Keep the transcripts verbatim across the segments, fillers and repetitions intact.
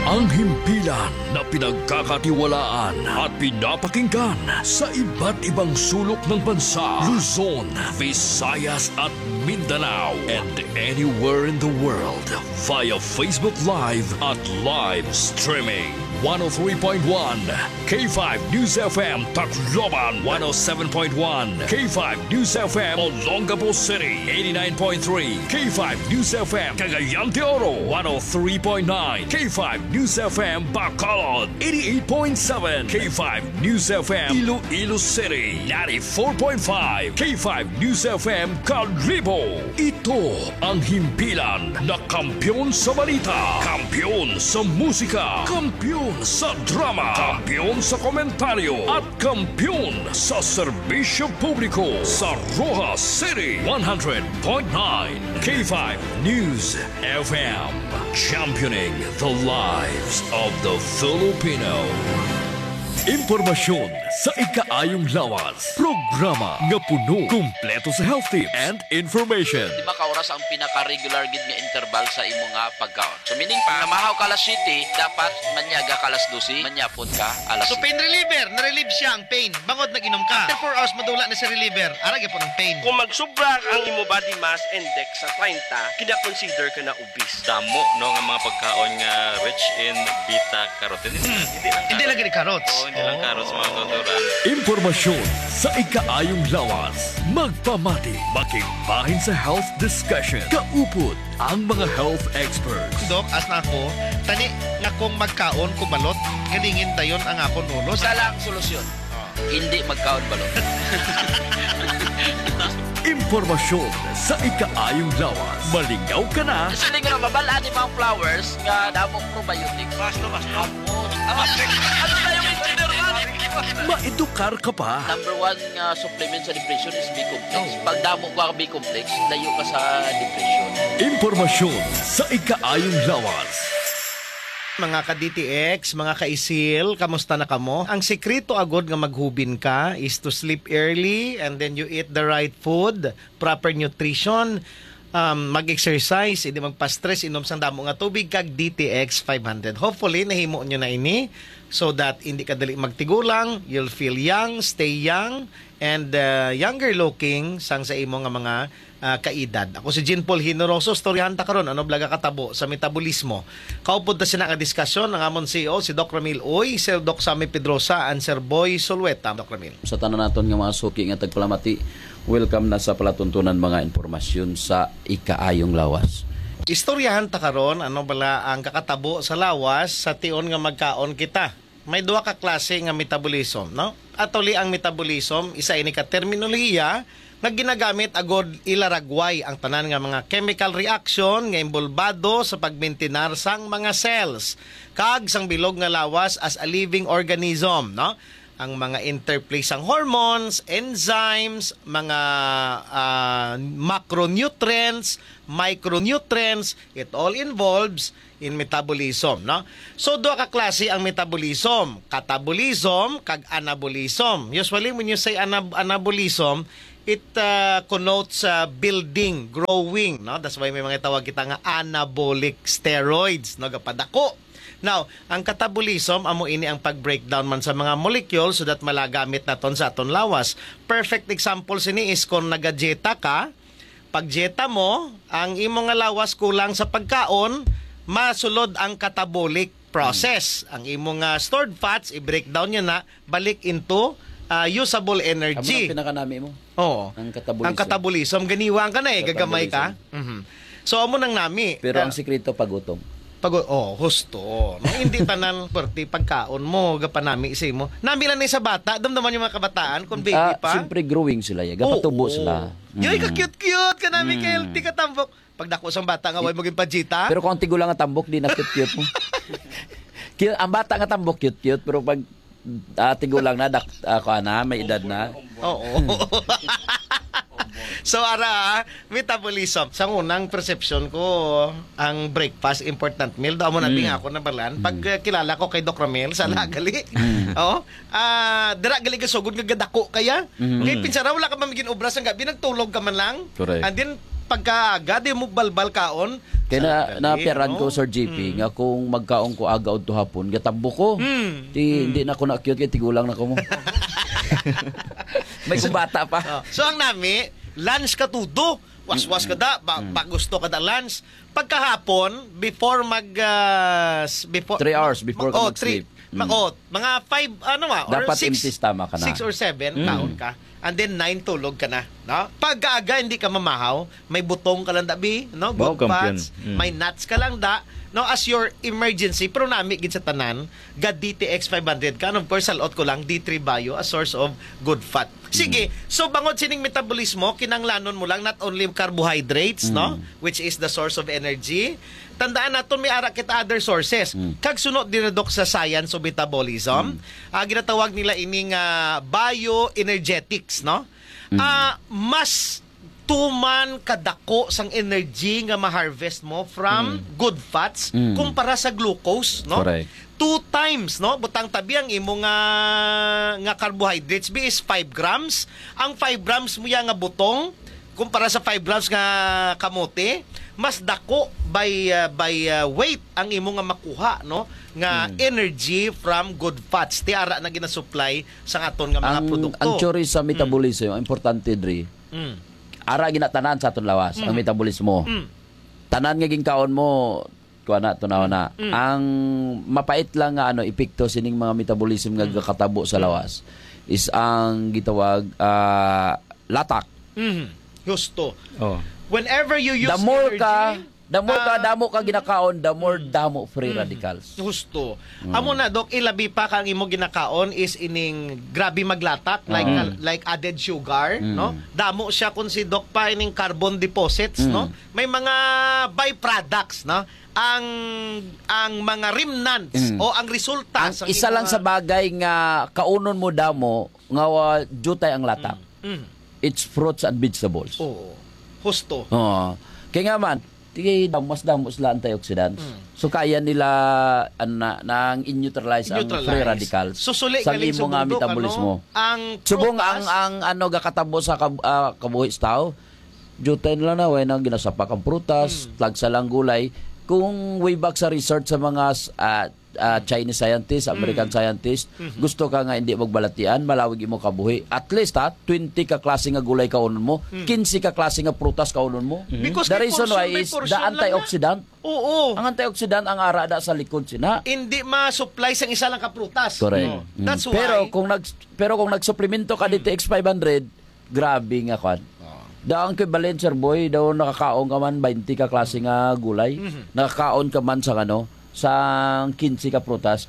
Ang himpilan na pinagkakatiwalaan at pinapakinggan sa iba't ibang sulok ng bansa, Luzon, Visayas at Mindanao, and anywhere in the world via Facebook Live at live streaming. One oh three point one K five News F M Tacloban, one oh seven point one K five News F M Olongapo City, eighty-nine point three K five News F M Cagayan de Oro, one oh three point nine K five News F M Bacolod, eighty-eight point seven K five News F M Iloilo City, ninety-four point five K five News F M Kalibo. Ito ang himpilan na kampiyon sa balita, kampiyon sa musika, kampiyon sa drama, kampiyon sa komentaryo, at kampiyon sa serbisyo publiko sa Roxas City, one hundred point nine K five News F M, championing the lives of the Filipino. Impormasyon sa ikaayong lawas. Programa nga puno, kumpleto sa health tips and information. Di ba ka oras ang pinaka-regular gid nga interval sa imo nga pagkaon? So, meaning pa, namahaw ka alas siyete, dapat manyaga ka alas dose, manyapon ka alas So, siyete. Pain reliever, na-relieve siya ang pain. Bangod nag-inom ka. After four hours, madula na sa reliever. Ara gyapon ang pain. Kung magsubra ang imo body mass index sa treinta, kina-consider ka na obese. Damo, no, nga mga pagkaon nga rich in beta carotene. Hindi lang Hindi lang carotene. Gani carrots. Oo, hindi lang Oh. carrots, mga kauturan. Impormasyon sa ikaayong lawas. Magpamati, makigbahin sa health discussion. Kaupod ang mga health experts. Dok, as na ako, tani nga kung magkaon ko balot, galingin dayon ang akon ulo. Isa lang solusyon. Ah. Hindi magkaon balot. Impormasyon sa ikaayong lawas. Malingaw ka na. Siling nga mabal-an ni mga flowers nga damong probiotics. Mas, mas, mas. Ano tayo yung engineer man? Maedukar ka pa. Number one nga supplement sa depression is B complex. Oh. Pag damo ka B complex, layo ka sa depression. Impormasyon sa ikaayong lawas. Mga ka-D T X, mga ka-isil, kamusta na kamo? Ang sikreto agod nga maghubin ka is to sleep early and then you eat the right food, proper nutrition, um, mag-exercise, hindi magpa-stress, inom sang damo nga tubig, kag D T X five hundred. Hopefully, nahimo nyo na ini so that hindi ka dali magtigulang, you'll feel young, stay young, and, uh, younger looking sang sa imo nga mga, uh, kaedad. Ako si Jean Paul Hinoroso, istoryahan ta karon ano bala ang katabo sa metabolismo. Kaupod ta sina nga diskasyon ang amon C E O, si Doc Ramil Uy, Sir Doc Sammy Pedrosa, and Sir Boy Solueta. Doc Ramil. Sa tanan naton nga mga suki nga tagpalamati, welcome na sa palatuntunan mga impormasyon sa ikaayong lawas. Istoryahan ta karon ano bala ang kakatabo sa lawas sa tion nga magkaon kita. May duha ka klase nga metabolism, no? Actually, ang metabolism, isa ini ka terminolohiya nga ginagamit agod ilaragway ang tanan nga mga chemical reaction nga inbolbado sa pagmintinar sang mga cells kag sang bilog nga lawas as a living organism, no? Ang mga interplay sang hormones, enzymes, mga, ah, macronutrients, micronutrients, it all involves in metabolism, no? So, duha ka klase ang metabolism, catabolism kag anabolism. Usually, when you say anab-, anabolism, it, uh, connotes, uh, building, growing, no? That's why may mga tawag kita nga anabolic steroids, no? Gapadako. Now, ang catabolism, amo ini ang pag-breakdown man sa mga molecules so that malagamit naton sa aton lawas. Perfect example sini is kung nagadieta ka, pag-dieta mo, ang imo nga lawas kulang sa pagkaon, masulod ang catabolic process. Hmm. Ang imo nga stored fats, i-breakdown niya na, balik into, ah, usable energy. Amo ang pinakanami mo? Oo. Ang catabolism. Ang catabolism, ganiwa ka na eh, gagamay ka. Catabolism. Mhm. So, amo nang nami. Pero ang sikreto, pagutom. Pag-, oh, husto. No, hindi tanan pwerte pagkaon mo, gapanami sa imo. Nami lang ni sa bata, damdaman yung mga kabataan, kung baby Ah, pa. Siyempre, growing sila, eh. Gapatubo Oo. sila. Yoy, Mm. ka-cute-cute ka nami, Mm. ka-healthy, katambok. Pag dako sang bata nga, way mo ginpajita. Pero kung ang tigulang nga tambok, di na cute-cute mo. Cute, ang bata nga tambok, cute-cute. Pero pag, ah, tigulang na, dak-, ah, kuha na, may edad na. Oo. So, ara, ah, metabolism. Sa unang perception ko, ang breakfast, important meal. Daw mo na Mm. nga ako nabalan. Pag, Mm. eh, kilala ko kay Doc Ramil, sa Mm. lagali. Mm. Oo. Ah, dira gali ka sugod nga gadako kaya. Mhm. Kay Mm. pinsara, wala ka man ginobra sang gabi, nagtulog ka man lang. Correct. And then, Pagkaaga, di mo balbal kaon. Kaya na, Sa napiaran no? ko, Sir G P, Mm. nga kung magkaon ko aga o hapon, gatambo ko. Mm. Di, Mm. hindi na ko na cute, kaya tigulang na ko mo. May kumbata pa. Oh. So, ang nami, lunch ka tudo. Waswas ka da, ba, Mm. ba gusto ka da lunch. Pagkahapon, before mag, ah, s-, before, Three hours before ka oh, mag-sleep. Three, ma-, Mm. oh, mga five, ano ah, or Dapat six, empty stomach ka na. six or seven, Mm. kaon ka. And then nine, tulog ka na. No? Pagkaaga, hindi ka mamahaw, may butong ka lang da, bi, no? Wow, good kampiyon. Fats, Mm. may nuts ka lang da, no? As your emergency, pero nami gid sa tanan, ga D T X five hundred ka. And of course, salot ko lang, D three Bio, a source of good fat. Sige, Mm. so bangod sining metabolismo, kinanglanon mo lang not only carbohydrates, Mm. no? Which is the source of energy. Tandaan naton, may ara kita other sources. Mm. Kag suno dira, Doc, sa science of metabolism, Mm. ah, ginatawag nila ini nga bioenergetics, no? Mm. Ah, mas tuman kadako sang energy nga ma-harvest mo from Mm. good fats Mm. kumpara sa glucose, no? Correct. Two times, no? Butang tabi ang imo nga, nga carbohydrates, bi, is five grams. Ang five grams mo ya nga butong, kumpara sa five grams nga kamote, mas dako by, uh, by, uh, weight ang imo nga makuha, no? Nga Mm. energy from good fats. Ti ara na ginasupply sa aton nga mga Ang, produkto. ang theory sa Mm. metabolism, ang importante diri, Mm. ara ginatanan sa aton lawas, ang Mm. metabolismo. Mm. Tanan nga ginkaon mo, kuha na, tunaw na. Mm. Ang mapait lang nga, ano, epekto sining mga metabolism nga Mm. gakatabo sa Mm. lawas is ang gitawag, ah, latak. Mm. Husto. Oh. Whenever you use The more energy, ka, the more ka, ah, damo ka ginakaon, the more mm. damo free Mm. radicals. Husto. Mm. Amo na, Doc, ilabi pa kang imo ginakaon is ining grabe maglatak, like, Oo. ah, like added sugar, Mm. no? Damo siya kung si Doc pa ining carbon deposits, Mm. no? May mga byproducts, no? Ang, ang mga remnants Mm. o ang resulta Ang sa isa lang mga sa bagay nga kaunon mo damo nga wa-, jutay ang latak. Mm. Mm. It's fruits and vegetables. Oo. Husto. Oo. Kaya nga man, Ti dam-, mas damo sila antioxidants. Mm. So, kaya nila, ano na, nang i-neutralize ang Neutralize. free radicals So, suli sa galing sa imo nga bundok, metabolismo. ano? Ang Subong ang, prutas? ang, ano, gakatabo sa kab-, ah, kabuhi sa tao, jutay na lang na, way na ginasapak ang prutas, Mm. tagsa lang gulay. Kung way back sa research sa mga s-, ah, ah, Chinese scientist, American Mm. scientist, Mhm. gusto ka nga hindi magbalatian, malawig imo kabuhi. At least, ha, twenty ka klase nga gulay kaunon mo, Mm. quince ka klase nga prutas kaunon mo. Mhm. Because The may reason portion, why may is the portion lang na. antioxidant. Oo. Ang antioxidant ang ara da sa likod sina. Hindi ma-supply sang isa lang ka prutas. Correct. No. Mm. That's Pero why kung nag-, pero kung nagsuplemento ka Mm. D T X five hundred, Grabe nga kwan. Oo. Daw ang equivalent, Sir Boy, daw nakakaon ka man twenty ka klase nga gulay. Mhm. Nakakaon ka man sa ano, sa quince ka prutas.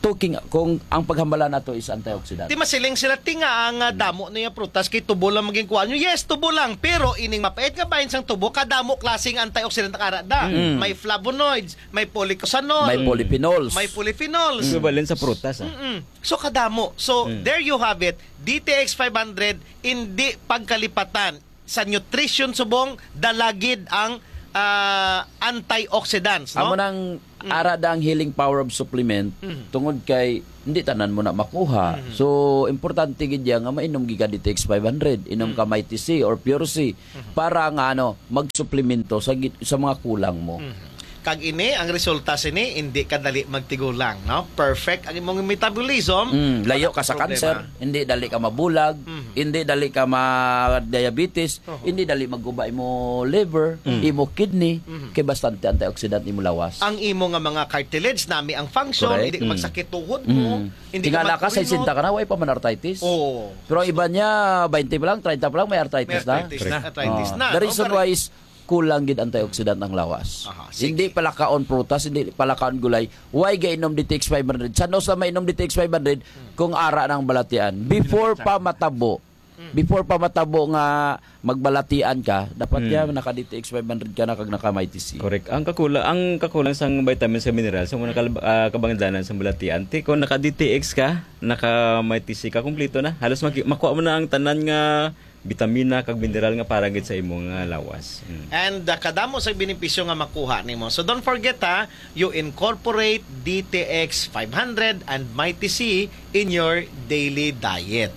Talking, kung ang paghambala nato is antioxidant. Ti masiling sila, ti nga ang, ah, Mm. damo niya prutas kay tubo lang maging kuan nyo. Yes, tubo lang, pero ining mapait nga bahin sang tubo, kadamo klaseng antioxidant ang ara da. Mm. May flavonoids, may polycosanol, May polyphenols. may polyphenols. Equivalent sa prutas, ah. Mm-mm. So, kadamo. So, Mm. there you have it. D T X five hundred, hindi pagkalipatan sa nutrition subong, dala gid ang, ah, antioxidants, no? Amo nang Mm. ara da ang healing power of supplement, Mm. tungod kay hindi tanan mo na makuha. Mm. So, importante gid yan nga mainom gid ka D T X five hundred, inom ka Mm. Mighty C or Pure C, Mm. para nga, ano, magsuplemento sa gi-, sa mga kulang mo. Mm. Kag ini, ang resulta sini, hindi ka dali magtigulang, no? Perfect ang imong metabolism. Mm, layo Wala ka sa problema. cancer, hindi dali ka mabulag, Mhm. hindi dali ka ma-diabetes, Oho. hindi dali magguba imo liver, Mm. imo kidney, Mhm. kay bastante antioxidant imo lawas. Ang imo nga mga cartilage, nami ang function, Correct. hindi ka Mm. magsakit tuhod mo, Mm. hindi ka Tingala ka, magkurinot. sesenta ka na, way pa man arthritis. Oo. Pero ang iba niya, twenty pa lang, treinta pa lang, may arthritis May na. arthritis na, Correct. arthritis Oh. na. The reason Okay. why is kulang gid antioxidant ang lawas. Aha, sige. Hindi palakaon prutas, hindi palakaon gulay. Why gainom D T X five hundred? Sa no sa mainom D T X five hundred Hmm. kung ara nang balatian? Before Pinatsa. pa matabo, Hmm. before pa matabo nga magbalatian ka, dapat Hmm. ya naka D T X five hundred ka na kag naka Mighty C. Correct. Ang kakula-, ang kakulang sang vitamins sa minerals, sa mga Hmm. kal-, ah, kabangdanan sa balatian, ti kung naka D T X ka, naka Mighty C ka, kumpleto na. Halos maki-, makuha mo na ang tanan nga bitamina kag mineral nga para gid sa imo nga lawas. Mm. And, uh, kadamo sa benepisyo nga makuha nimo. So don't forget, ha, you incorporate D T X five hundred and Mighty C in your daily diet.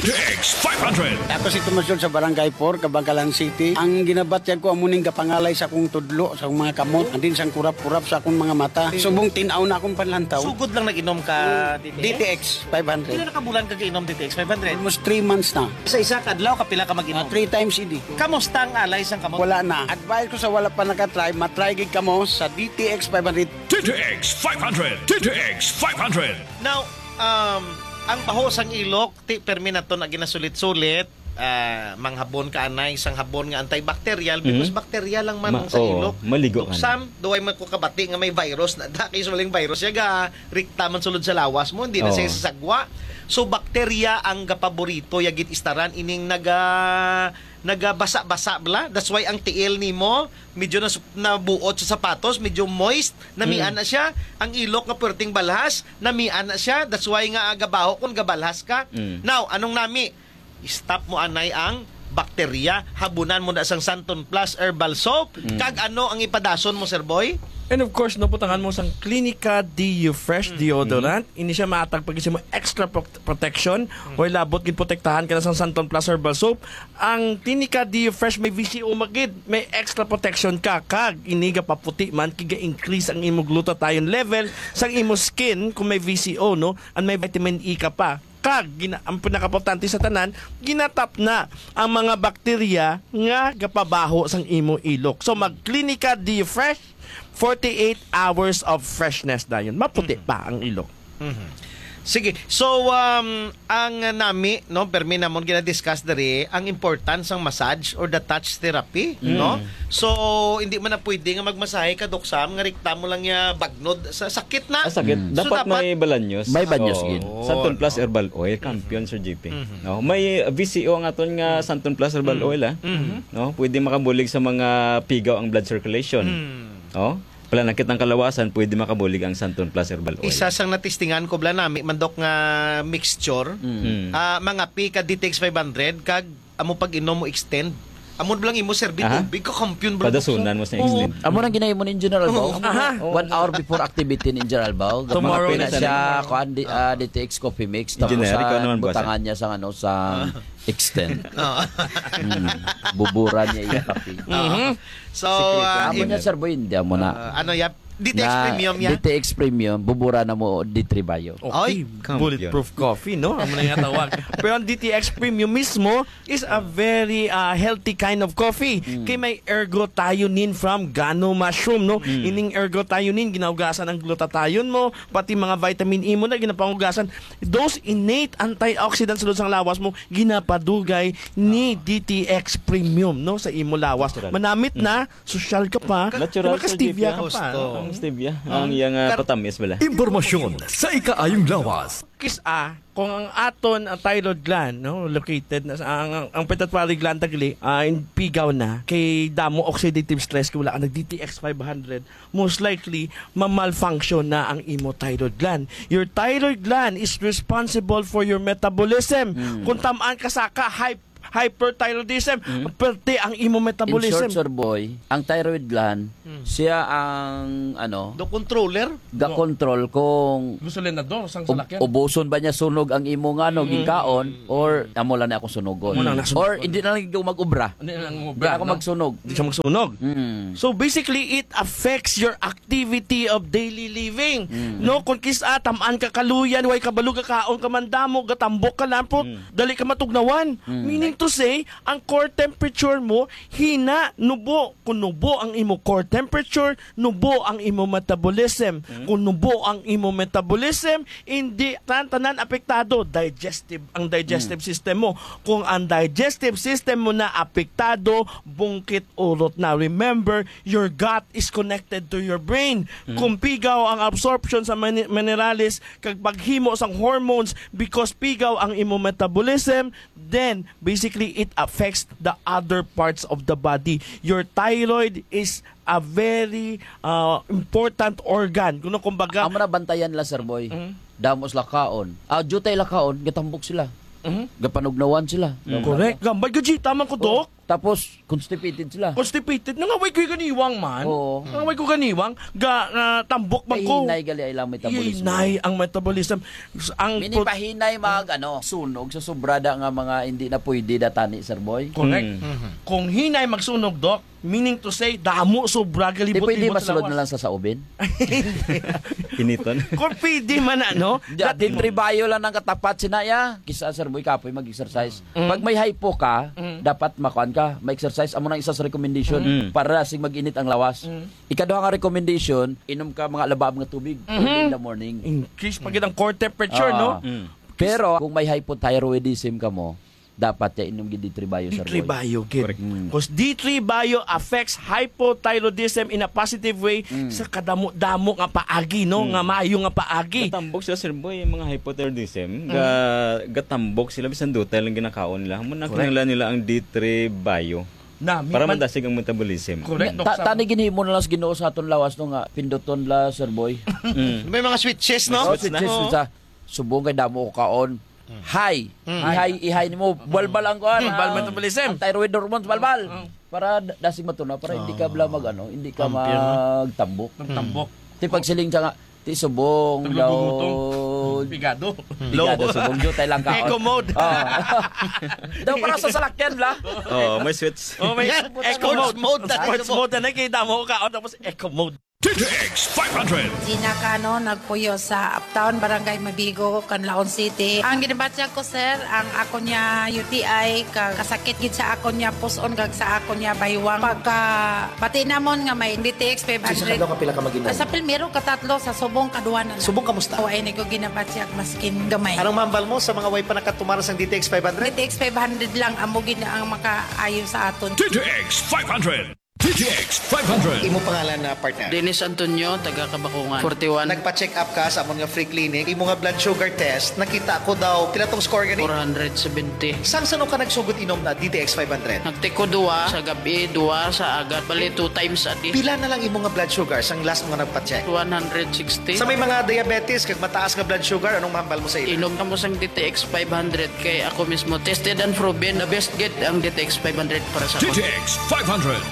T X five hundred. Ako si Tomas George sa Barangay four, Kabankalan City. Ang ginabatyag ko amo ning gapangalay sa akong tudlo, sa akong mga kamot, and then sang kurap-kurap sa akong mga mata. Subong tin-aw na akong panlantaw. Sugod lang nag-inom ka, D T X? D T X five hundred. Pila na ka bulan ka giinom D T X five hundred? Almost three months na. Sa isa ka adlaw, kapila ka mag-inom? Ah, three times a day. Kamusta ang alay sang kamot? Wala na. Advice ko sa wala pa nakatry, matry gid kamo sa D T X five hundred. T T X five hundred. T T X five hundred. Now, um, ang baho sang ilok, ti permi nato na ginasulit-sulit, ah, manghabon ka anay sang habon nga antibacterial because Mhm. bacteria lang man Ma-, ang sa oo, ilok. Maligo Dok ka na. Sam, duway man ko kabati nga may virus na da, kay usually ang virus ya ga rikta man sulod sa lawas mo, hindi na Oo. siya sasagwa. So, bacteria ang gapaborito ya gid istaran ining naga-, nagabasa-basa bla. That's why ang tiil nimo medyo nas-, nabuot sa sapatos, medyo moist, namian Mm. na siya. Ang ilok nga perting balhas, namian na siya. That's why nga gabaho kung gabalhas ka. Mm. Now, anong nami? Stop mo anay ang bakterya. Habunan mo na sang Santon Plus Herbal Soap. Mm. Kag ano ang ipadason mo, Sir Boy? And of course, no, butangan mo sang Clinica D U Fresh Mm. deodorant. Ini siya maatag pag mo extra pro-, protection. Mm. Way labot gid protektahan ka na sang Santon Plus Herbal Soap. Ang Clinica D U Fresh may V C O magid, may extra protection ka. Kag ini gapaputi man, kay ga-increase ang imo glutathione level sang imo skin kung may V C O, no? And may vitamin E ka pa. Kag gina-, ang pinakaimportante sa tanan, ginatap na ang mga bakterya nga gapabaho sang imo ilok. So, mag Clinica D Fresh, forty-eight hours of freshness dayon. Maputi Mhm. pa ang ilok. Mhm. Sige. So, um, ang nami, no, permi namon gina-discuss diri ang importance sang massage or the touch therapy, Mm. no? So, hindi man na pwede nga magmasahe ka, Doc Sam, nga rikta mo lang ya bagnod sa sakit na. Ah, sakit. Mm. So, Dapat dapat may balanyos. May banyos Oo. gid. Santon Plus Oo. Herbal Oil, Mm-hmm. champion, Sir J P. Mm-hmm. No? May V C O ang aton nga Mm. Santon Plus Herbal Mm. Oil, ah. Mm-hmm. No? Pwede makabulig sa mga pigaw ang blood circulation. Mm. Oh? Pananakit ang kalawasan, pwede makabulig ang Santon Plus Herbal Oil. Isa sang natistingan ko bala nami, mandok nga mixture. Mm. Mm. Ah, mga pi ka D T X five hundred, kag amo pag-inom mo extend. Amo lang imo serbi Aha. tubig, kakampiyon bala, Dokso? Padasunan mo sa Oo. extend. Amo nang ginahimo ni General Bao. Oo. Aha. One hour before activity ni General Bao. Tomorrow Mga na pina siya, siya. kuan, di, ah, D T X Coffee Mix. Engineer, Tapos, ikaw ah, naman, boss, butangan ah. niya sang ano, sa Ah. extend. Oo. Mm. Bubura niya iya kape. Mhm. So, Secret ah, lang. Amo niya, Sir Boy, hindi, amo na. Ah, ano, yap? D T X Na Premium, ya? D T X Premium, bubura na mo, D three Bio. Okay, Ay, kampiyon. bulletproof coffee, no? Amo na nga tawag. Pero ang D T X Premium mismo is a very, ah, healthy kind of coffee. Mm. Kay may ergothioneine from guano mushroom, no? Mm. Ining ergothioneine, ginahugasan ang glutathione mo, pati mga vitamin E mo na, ginapangugasan. Those innate antioxidants sulod sang lawas mo, ginapadugay ni Ah. D T X Premium, no, sa imo lawas. Natural. Manamit Mm. na, sosyal ka pa, Natural, Sir J P, makastevia ah. ka pa. Gusto. Ang stevia, Ah. ang iyang, ah, Kar- patamis bala. Impormasyon sa ikaayong lawas. Kis-a, kung ang aton, ang thyroid gland, no, located na sa, ang, ang, ang pituitary gland tagli, ah, in pigaw na, kay damo oxidative stress, kay wala ka nag D T X five hundred, most likely, ma-malfunction na ang imo thyroid gland. Your thyroid gland is responsible for your metabolism. Mm. Kung tam-an ka sa ka, hy-, hyperthyroidism, Mm. perti ang imo In metabolism. short, Sir Boy, ang thyroid gland, Mm. siya ang, ano, The controller? ga-control kung Gasolinador, sang ub-, salakyan. ubuson ba niya sunog ang imo nga, ano, Mm. gikaon, or amo lang na akong sunugon. Amo lang na sunugon. Or hindi na lang ikaw mag-obra. Hindi na lang Hindi mag-obra, ako no? magsunog. Hindi siya magsunog. Mm. So, basically, it affects your activity of daily living. Mm. No, kung kis-a, tam-an ka kaluyan, way kabalo, gakaon ka man damo, gatambok ka lang, put, Mm. dali ka matugnawan. Mm. Meaning to say, ang core temperature mo, hina, nubo. Kung nubo ang imo core temperature, nubo ang imo metabolism. Mm. Kung nubo ang imo metabolism, hindi tan-, tanan apektado, digestive, ang digestive Mm. system mo. Kung ang digestive system mo na apektado, bungkit urot na. Remember, your gut is connected to your brain. Mm. Kung pigaw ang absorption sa mini-, minerales, kag paghimo sang hormones, because pigaw ang imo metabolism, then basically it affects the other parts of the body. Your thyroid is a very, uh, important organ. Kuno, kumbaga, Amo na bantayan la, Sir Boy. Mm. Damos la kaon. Ah, jutay la kaon, gatambok sila. Mhm. Gapanugnawan sila. Mm. Correct. Gambay ka, G. Tama ko, Oh. Doc. Tapos, constipated sila. Constipated. Nangaway ko'y ganiwang man. Oo. Nangaway ko ganiwang. Ga, nga tambok man Kay ko. hinay gali ay lang metabolism. Hinay ang metabolism. S-, ang Mini pro- pahinay mag, ano, sunog sa sobra da nga mga hindi na pwede da tani, Sir Boy. Correct. Mm. Mhm. Kung hinay magsunog, Doc, meaning to say, damo sobra Di galibot pwede libot sa masulod lawas. na lang sa saubin? Initon. Kung pwede man, ano? Di, That di tribayo lang ang katapat sinaya. Kisa, Sir Boy, kapoy mag-exercise. Mm. Pag may hypo ka, Mm. dapat makuan ka, may exercise. Amo nang isa sa recommendation Mm. para sig mag-init ang lawas. Mm. Ikaduha nga recommendation, inom ka mga labab nga tubig Mhm. early in the morning. In case pag ang core temperature, Ah. no? Mm. Pero kung may hypothyroidism ka mo, dapat ya inom gid D three Bio, Sir Boy. D three Bio, gid. Correct. Mm. 'Cause D three Bio affects hypothyroidism in a positive way Mm. sa kadamo-damo nga paagi, no? Mm. Nga maayo nga paagi. Gatambok sila, Sir Boy, yung mga hypothyroidism. Mm. Ga-, gatambok sila, bisan dutay lang ginakaon nila. Amo na Correct. kinahanglan nila ang D three Bio. Na, mi-, Para man- madasig ang metabolism. Correct, Ta-, Doc Sam. tani ginhimo na lang sa Ginoo sa aton lawas, no, nga pinduton la, Sir Boy. Mm. May mga switches, no? May switch na. Switches Oo. sa subong kay damo ko kaon. Mm. High. Mm. Ihay, ihay nimo, balbal ang kuan, Mm, balbal ang, metabolism. ang thyroid hormones, balbal. Mm. Para d-, dasig matuna, para hindi ka Ah. bala mag, ano, hindi ka Champion, no? magtambok. Magtambok. Ti pagsiling siya nga, ti subong Taglugo daw. mo to. Pigado. Pigado, Low. subong jutay lang kaon. Eco mode. Ah. Daw para sa salakyan, bala. Oh, may switch. Oh, may Yan, eco sports mode. mode na Sports mo. mode na, kay damo ka, oh, tapos eco mode. D T X five hundred. Gina Cano, nagpuyo sa Uptown, Barangay Mabigo, Canlaon City. Ang ginabatyag ko, sir, ang ako niya U T I, ka-, kasakit gid sa ako niya puson, kag sa ako niya baywang. Pagka bati namon nga may D T X five hundred. Sa kadlaw ka pila ka mag-inom? Sa primero, katatlo, sa subong, kaduha na lang. Subong, kamusta? O, ay, ni ko ginabatyag, maskin gamay. Anong mahambal mo sa mga way pa nakatumar sang D T X five hundred? D T X five hundred lang, amo gid na ang makaayo sa aton. D T X five hundred. D T X five hundred. Imo pangalan na partner? Dennis Antonio, taga Kabakungan, forty-one. Nagpa-check up ka sa amon nga free clinic. Imo nga blood sugar test, nakita ko daw, pila tong score gani? Four hundred seventy. Sang sano ka nagsugod inom na D T X five hundred? Nagtiko duwa sa gabi, duwa sa agad. Bali, two times a day. Pila na lang imo nga blood sugar sang last mo nga nagpa-check? One hundred sixty. Sa may mga diabetes kag mataas nga blood sugar, anong mahambal mo sa ila? Inom kamo sang D T X five hundred kay ako mismo tested and proven. The best gid ang D T X five hundred para sa D T X five hundred.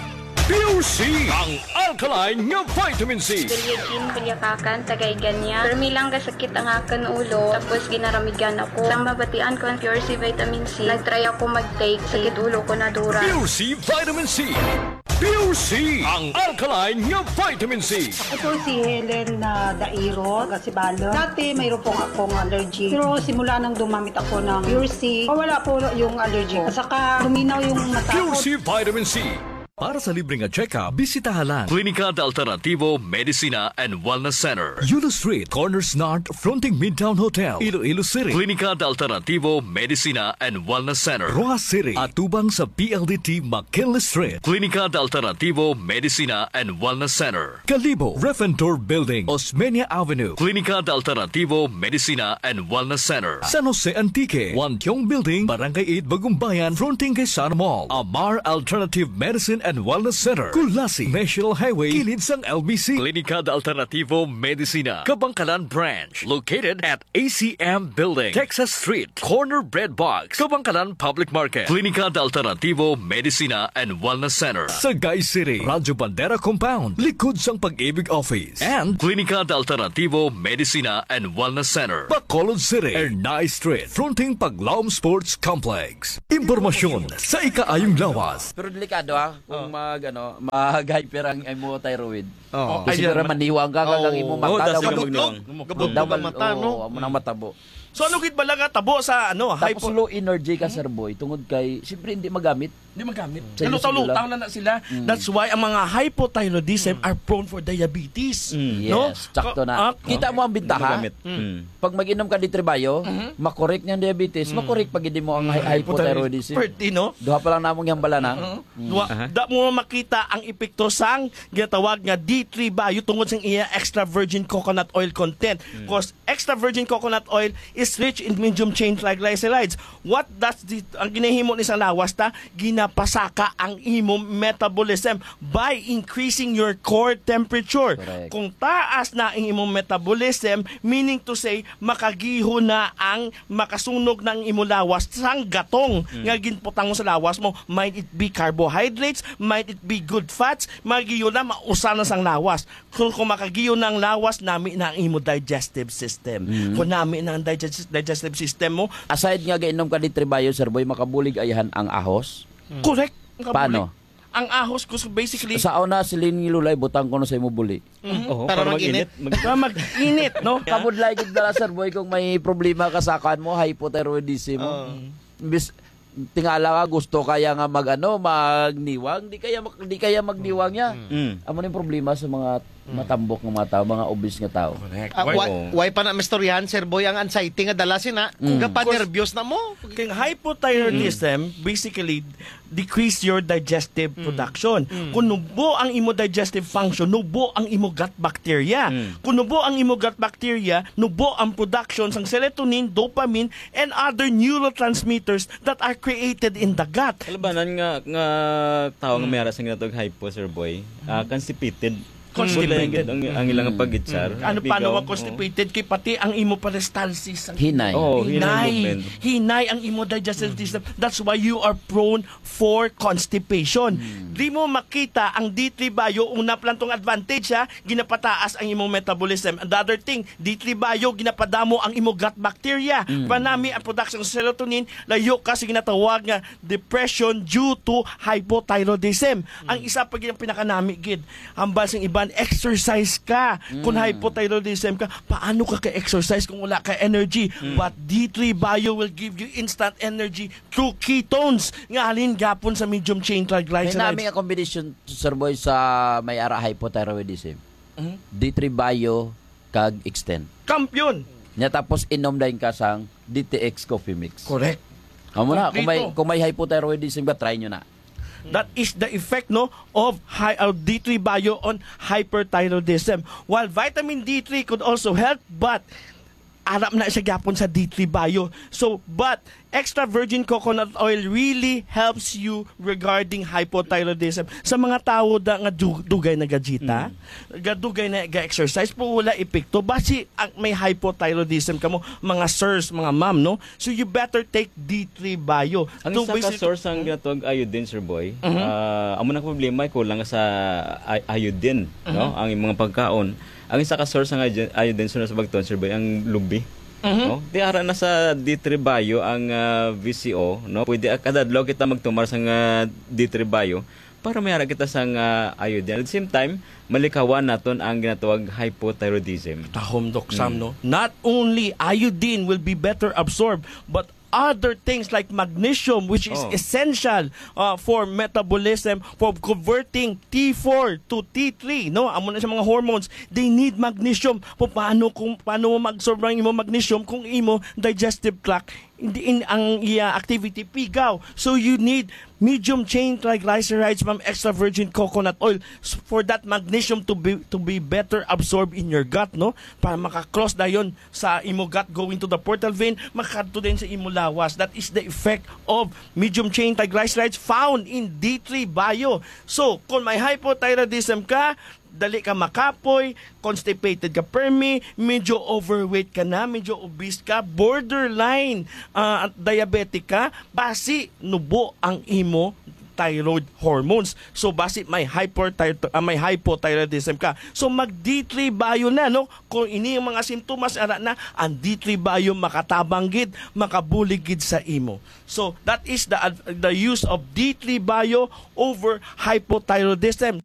Pure C, ang alkaline nga vitamin C. Julia Jean Culiacacan, taga Igania. Permi lang kasakit ang akon ulo, tapos ginaramigan ako. Sang mabatian ko ang Pure C Vitamin C, nag-try ako mag-take, sakit ulo ko nadura. Pure C Vitamin C. Pure C, ang alkaline nga vitamin C. Ako po si Helen na Dairo, taga Sibalom. Dati mayroon po akong allergy. Pero simula nang dumamit ako ng Pure C, wala po yung allergy ko. At saka luminaw yung mata ko. Pure C Vitamin C. Para sa libre nga check-up, bisitaha lang Klinika de Alternativo Medicina and Wellness Center, Yulo Street, Corners North, fronting Midtown Hotel, Iloilo City. Klinika de Alternativo Medicina and Wellness Center, Roxas City, atubang sa P L D T McKinley Street. Klinika de Alternativo Medicina and Wellness Center, Kalibo, Ref and Tour Building, Osmeña Avenue. Klinika de Alternativo Medicina and Wellness Center, San Jose Antique, Wantiong Building, Barangay eight, Bagumbayan, fronting kay Sana Mall. Amar Alternative Medicine and Wellness Center, Culasi, National Highway, kilid sang L B C. Klinika de Alternativo Medicina, Kabankalan Branch, located at A C M Building, Texas Street, corner Bread Box, Kabankalan Public Market. Klinika de Alternativo Medicina and Wellness Center, Sagay City, Radyo Bandera Compound, likod sang Pag-ibig Office, and Klinika de Alternativo Medicina and Wellness Center, Bacolod City, Ernai Street, fronting Paglaom Sports Complex. Impormasyon sa ikaayong lawas. Pero delikado, ha, kung Oh. mag, ano, mag-hyper ang imo thyroid. Oh. Kasi Ayan, siguro man- maniwang ka, kag ang Oh. imo Oh, mata daw dasig mag- magniwang. Gabudlog Daw ang mag-, mata, no? oo, amo nang matabo. So, ano gid bala nga tabo sa, ano, Tapos hypo- low energy ka, Hmm? Sir Boy, tungod kay, siyempre, hindi magamit. Hindi magamit. Sa Nalutaw-lutaw inyo sila. na na sila. Hmm. That's why ang mga hypothyroidism Hmm. are prone for diabetes. Hmm. No? Yes, sakto Ka-, na. ah, Kita mo ang bintaha? Hindi magamit. Hmm. Hmm. Pag mag-inom ka D three Bio, Mhm. makorek niya ang diabetes, Hmm. makorek pa gid mo ang Hmm. hy-, hypothyroidism. Pwerte, no? Duha pa lang namong hambala na. Mhm. Hmm. Duha, Aha. da mo makita ang epekto sang ginatawag nga D three Bio tungod sang iya extra virgin coconut oil content. Hmm. 'Cause extra virgin coconut oil is rich in medium chain triglycerides. What does the, ang ginahimo ni sa lawas ta, ginapasaka ang imo metabolism by increasing your core temperature. Correct. Kung taas na ang imo metabolism, meaning to say, makagiho na ang, makasunog na ang imo lawas sang gatong nga ginputang mo sa lawas mo. Might it be carbohydrates, might it be good fats, magiyo na, mausa na sang lawas. Kung, kung makagiyo na ang lawas, nami na ang imo digestive system. Kung nami na ang digest- digestive system mo, Aside nga gainom ka D three Bio, Sir Boy, makabulig ayahan ang ahos? correct. Makabulig. Paano? Ang ahos ko, so basically, Sa una, siling ni Lulay, butang ko na sa imo buli. Oo, Para para mag-init. mag-init. Para mag-init, no? Kabudlay gid dala, Sir Boy, kung may problema ka sa kuan mo, hypothyroidism. Oo. Bis, tingala ka, gusto kaya nga mag, ano, magniwang, di kaya mag, di kaya magniwang niya. Mm. Amo ni problema sa mga matambok nga mga tao, mga obese nga tao. Correct. Ah, Why? why, Oo. why pa na, Mister Yan, Sir Boy, ang anxiety nga dala sina? Mm. Kapanerbyos na mo. Kay hypothyroidism, basically, decrease your digestive production. Kung nubo ang imo digestive function, nubo ang imo gut bacteria. Kung nubo ang imo gut bacteria, nubo ang production sang serotonin, dopamine, and other neurotransmitters that are created in the gut. Kalabanan nga nga tao nga may ara sa ginatawag hypo, Sir Boy, ah, constipated. Constipated. Ang, ang ilang pag-itsar. Ano, paano Bigaw, ma-constipated? Kay pati ang imo peristalsis. Ang Hinay. Oo, hinay hinay. movement. Hinay ang imo digestive system. That's why you are prone for constipation. Di mo makita ang D three Bio, una pa lang tong advantage, ha, ginapataas ang imong metabolism. And the other thing, D three Bio, ginapadamo ang imo gut bacteria. Panami ang production sa serotonin, layo ka sa ginatawag nga depression due to hypothyroidism. Ang isa pa gid ang pinakanami gid, hambal sing iban, exercise ka. Kung hypothyroidism ka, paano ka ka-exercise kung wala ka energy? But D three Bio will give you instant energy through ketones nga halin gapon sa medium chain May triglycerides. nami nga combination, Sir Boy, sa may ara hypothyroidism. D three Bio kag Extend. Kampiyon. Nya tapos inom dayon ka sang D T X Coffee Mix. Correct. Amo na, kung may, Kompleto. Kung may hypothyroidism ka, try nyo na. That is the effect, no, of high, uh, D three Bio on hyperthyroidism. While vitamin D three could also help, but aram na siya gyapon sa D three Bio. So, but extra virgin coconut oil really helps you regarding hypothyroidism. Sa mga tawo da nga du- dugay na gajita, gadugay na ga-exercise, pero wala epekto. Basi ang may hypothyroidism kamo, mga sirs, mga ma'am, no? So you better take D three Bio. Ang To isa ka basically- source ang ginatawag iodine, Sir Boy. Ah, amo na problema, kulang sa i- iodine, no? Ang mga pagkaon. Ang isa ka source ng iodine, iodine sa bagton, Sir Boy, ang lubi. No? Di ara na sa D three Bio ang ah, V C O, no? Pwede ah, kada adlaw kita magtumar sa nga D three Bio para may ara kita sa nga iodine. At the same time, malikawan naton ang ginatawag hypothyroidism. Tahom, Doc Sam, no? Not only iodine will be better absorbed, but other things like magnesium, which is Oh. essential uh, for metabolism, for converting T four to T three, no? Amo na sa mga hormones, they need magnesium. Pa- Paano kung paano mo mag-absorb ang imo magnesium kung imo digestive tract hindi in ang iya activity pigaw? So you need medium chain triglycerides from extra virgin coconut oil s- for that magnesium to be to be better absorbed in your gut, no? Para maka-cross dayon sa imo gut, going to the portal vein, makadto din sa imo lawas. That is the effect of medium chain triglycerides found in D three Bio. So, kung may hypothyroidism ka, dali ka makapoy, constipated ka permi, medyo overweight ka na, medyo obese ka, borderline ah, diabetic ka, basi nubo ang imo thyroid hormones. So, basi may hyperthyro- ah, may hypothyroidism ka. So, mag D three Bio na, no? Kung ini ang mga sintomas, ara na, ang D three Bio makatabang gid, makabulig gid sa imo. So, that is the ad- the use of D three Bio over hypothyroidism.